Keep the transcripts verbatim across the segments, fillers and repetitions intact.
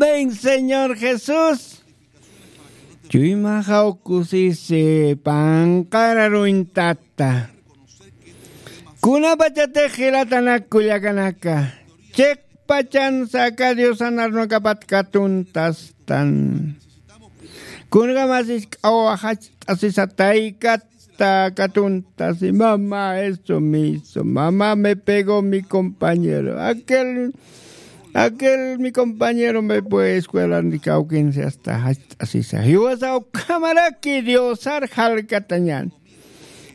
Amén, Señor Jesús. Chuymaxaw kusisi panqararuñtata. Kunapachatix jilatanak kullakanaka, chiqpachansa aka Diosan arunakapat katuntastan. Kunjamasis k'awa jach'asisa taykat ta katuntasi, mamá, eso mismo, mamá, me pegó mi compañero, aquel, aquel mi compañero me fue escuela ni kawkinsi hasta hasta sisa. Jiwasa ukhamaraki Diosar jalkatañan.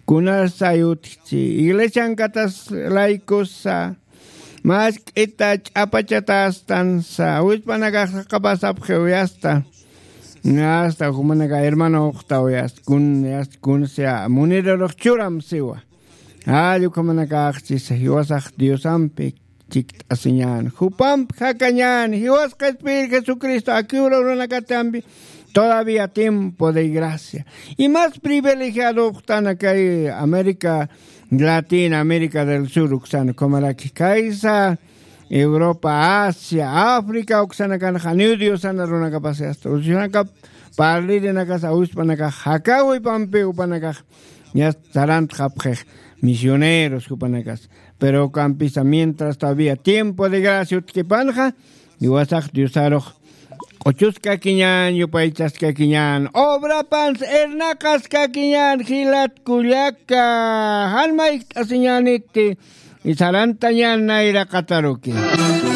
Kunasa yutchi iglesiankatas laykusa, mask'ita ch'apachatastansa wispanakax saqapasapxiwiyasta. Asta jumanaka hermano uqtawiyasta kun asta kun sea munirurux churam siwa. Jall ukhamanakaxchis jiwasax Diosampi chikt'asiñan, jupamp jakañan, jiwas qhispir Jesucristo akiwra uranakatampi. Todavía tiempo de gracia. Y más privilegiado uqtanakay América Latina, América del Sur uksan ukhamaraki kaysa Europa, Asia, África uksanakan janiw Diosana runakapasi asta usanakap parlirinakasa wispanakax jakawi pampi upanakax. Ñas sarantxapxix misioneros jupanakas. Pero ukampisa mientras todavía tiempo de gracia utkipanxa, iwasax Diosarux q'uchuskakiñan, yupaychaskakiñan, obrapans irnaqaskakiñan, jilat kullaka, jan mayjt'asiñaniti sarantañan nayraqataruki.